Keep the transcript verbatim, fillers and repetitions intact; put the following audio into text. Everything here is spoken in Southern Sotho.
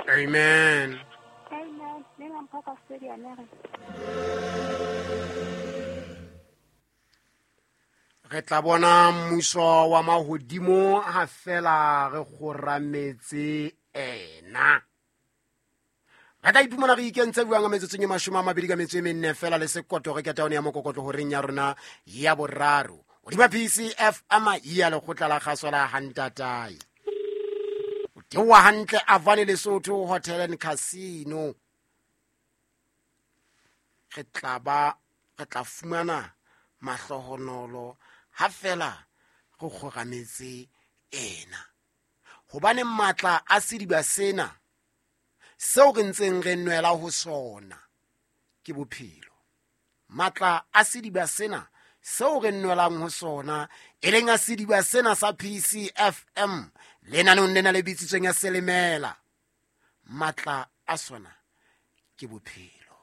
Amen. Amen. Le nga mpha ka stadium re. Re tla bona mmuso wa mahodimo ha fela re kgorametse ena. Re tla iphumana re ikentse buang ka metsotsong e mashome a mabedi ka metso e menne fela le sekoto re ketaone ya mokokotlo horeng ya rona ya boraro. Hodima P C F M ya lekgotla la kgaso la Hantatai. O theoha hantle Avane Lesotho Hotel and Casino. Re tla ba, re tla fumana mahlohonolo ha fela re kgorametse ena. Hobane matla a sediba sena seo re ntseng re nwela ho sona ke bophelo. Matla a sediba sena seo re nwelang ho sona e leng a sediba sena sa P C F M lenaneong lena le bitsitsweng ya Selemela, matla a sona ke bophelo.